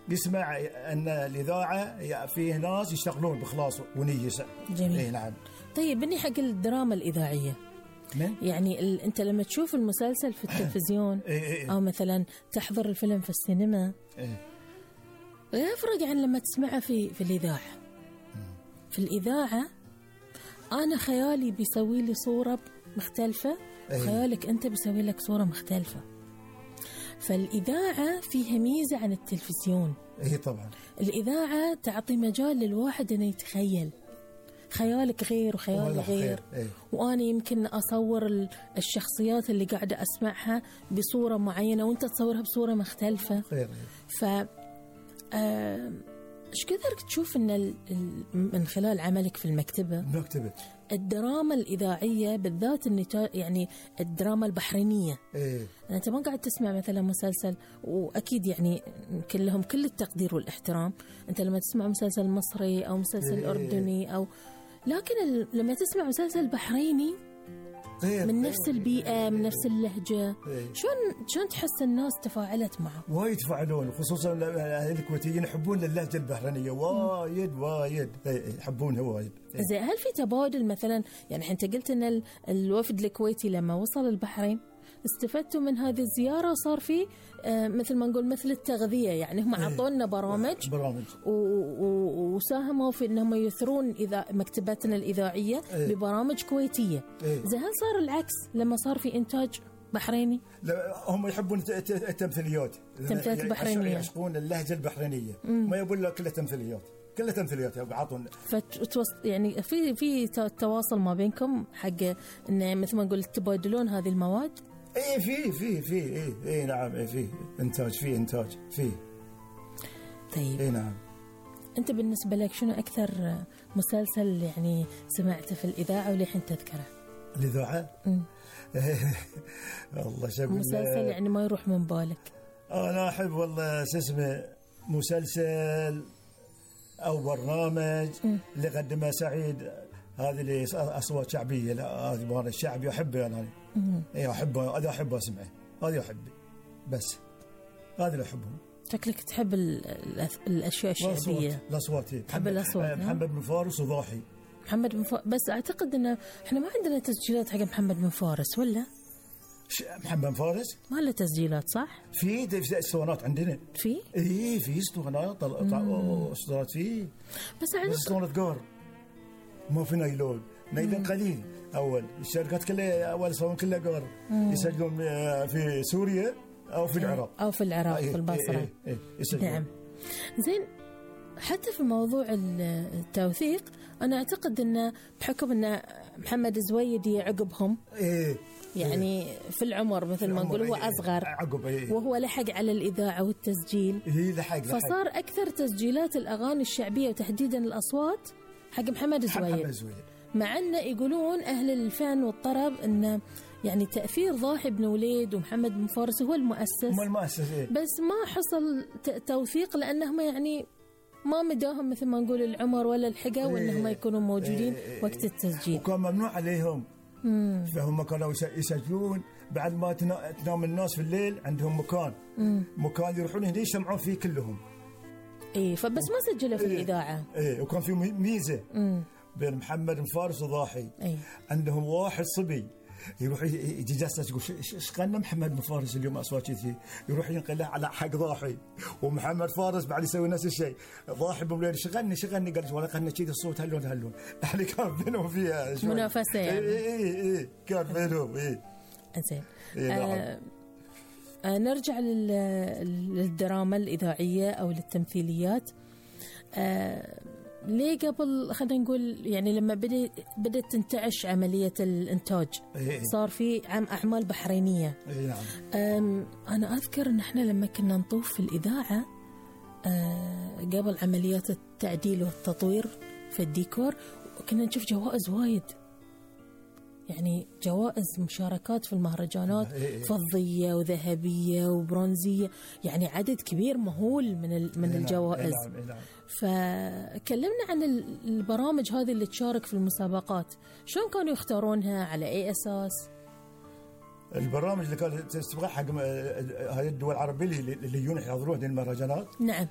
يسمع أن الإذاعة فيه ناس يشتغلون بإخلاص ونية. جميل. نعم. طيب بني حق الدراما الإذاعية يعني أنت لما تشوف المسلسل في التلفزيون أو مثلا تحضر الفيلم في السينما يفرق عن لما تسمعه في الإذاعة. في الإذاعة أنا خيالي بيسوي لي صورة مختلفة وخيالك أنت بيسوي لك صورة مختلفة. فالإذاعة فيها ميزة عن التلفزيون. طبعا الإذاعة تعطي مجال للواحد أنه يتخيل، خيالك غير وخيالي غير. وأنا يمكن أصور الشخصيات اللي قاعدة أسمعها بصورة معينة وأنت تصورها بصورة مختلفة. ف إيش قدرت تشوف إن من خلال عملك في المكتبة الدراما الإذاعية بالذات يعني الدراما البحرينية أنت ما قاعد تسمع مثلا مسلسل، وأكيد يعني كلهم كل التقدير والاحترام، أنت لما تسمع مسلسل مصري أو مسلسل أردني أو لكن لما تسمع مسلسل بحريني من نفس البيئة من نفس اللهجة شلون تحس الناس تفاعلت معه؟ وايد يتفاعلون، خصوصا الكويتيين يحبون اللهجة البحرينية وايد يحبونها وايد. زي هل في تبادل مثلا؟ يعني أنت قلت إن الوفد الكويتي لما وصل البحرين استفدتوا من هذه الزيارة وصار في مثل ما نقول مثل التغذية، يعني هم عطونا برامج وساهموا في إنهم يثرون مكتبتنا الإذاعية ببرامج كويتية. زي هل صار العكس لما صار في إنتاج بحريني؟ لا هم يحبون التمثيليات بحرينية، يعشقون اللهجة البحرينية، ما يقول لك كلها تمثيليات يبعطون. يعني في تواصل ما بينكم حق إن مثل ما نقول تبادلون هذه المواد. في نعم في إنتاج في. طيب نعم. أنت بالنسبة لك شنو أكثر مسلسل يعني سمعته في الإذاعة ولحين تذكره؟ الإذاعة والله شغل مسلسل يعني ما يروح من بالك. أنا أحب والله اسمه مسلسل أو برنامج اللي قدمه سعيد، هذه اللي أصوات شعبية، لا هذه مال الشعبي أحبه أنا. أحبه، هذا أحبه أسمعه، هذا أحبه بس هذا اللي أحبهم. شكلك تحب الأشياء الشعبية. الأصوات تحب الأصوات. محمد بن فارس وضاحي. محمد بن فارس، بس أعتقد إن إحنا ما عندنا تسجيلات حق محمد بن فارس ولا؟ محمد بن فارس ما له تسجيلات صح؟ في اسطوانات عندنا. في اسطوانات اسطوانات فيه، بس اسطوانات قار ما في نايلون قليل. أول الشركات كلها أول صوان كلها قار يسجلون في سوريا أو في العراق في البصرة. نعم. زين، حتى في موضوع التوثيق أنا أعتقد أن بحكم أن محمد زويدي عقبهم يعني في العمر مثل ما نقول هو أصغر وهو لحق على الإذاعة والتسجيل، فصار أكثر تسجيلات الأغاني الشعبية وتحديدا الأصوات حق محمد زويدي. مع أن يقولون أهل الفن والطرب أن يعني تأثير ضاحي بن وليد ومحمد بن فارس هو المؤسس. بس ما حصل توثيق لأنهم يعني ما مداهم مثل ما نقول العمر ولا الحقة وأنهم يكونوا موجودين وقت التسجيل، وكان ممنوع عليهم. فهم كانوا يسجلون بعد ما تنام الناس في الليل، عندهم مكان يروحون هنا يجتمعون فيه كلهم. فبس ما سجلوا في الإذاعة. وكان في ميزة بين محمد بن فارس وضاحي. عندهم واحد صبي يروح يجي جالس يقول ايش قالنا محمد بن فارس اليوم اصوات كذي، يروح ينقلها على حق ضاحي، ومحمد فارس بعد يسوي نفس الشيء. ضاحي بمولين شغلني قال ولا قالنا كذي الصوت هلون يعني كان بينهم فيها منافسه يعني. كان بينهم زين. نرجع للدراما الإذاعية أو للتمثيليات. ليه قبل خلينا نقول يعني لما بدأت تنتعش عملية الإنتاج صار في أعمال بحرينية. أنا أذكر إن إحنا لما كنا نطوف في الإذاعة قبل عمليات التعديل والتطوير في الديكور كنا نشوف جوائز وايد، يعني جوائز مشاركات في المهرجانات فضية وذهبية وبرونزية، يعني عدد كبير مهول من الجوائز. فكلمنا عن البرامج هذه اللي تشارك في المسابقات، شلون كانوا يختارونها، على أي أساس؟ البرامج اللي كانت تستبغى حق هاي الدول العربية اللي يجون يحضرون هذه المهرجانات. نعم.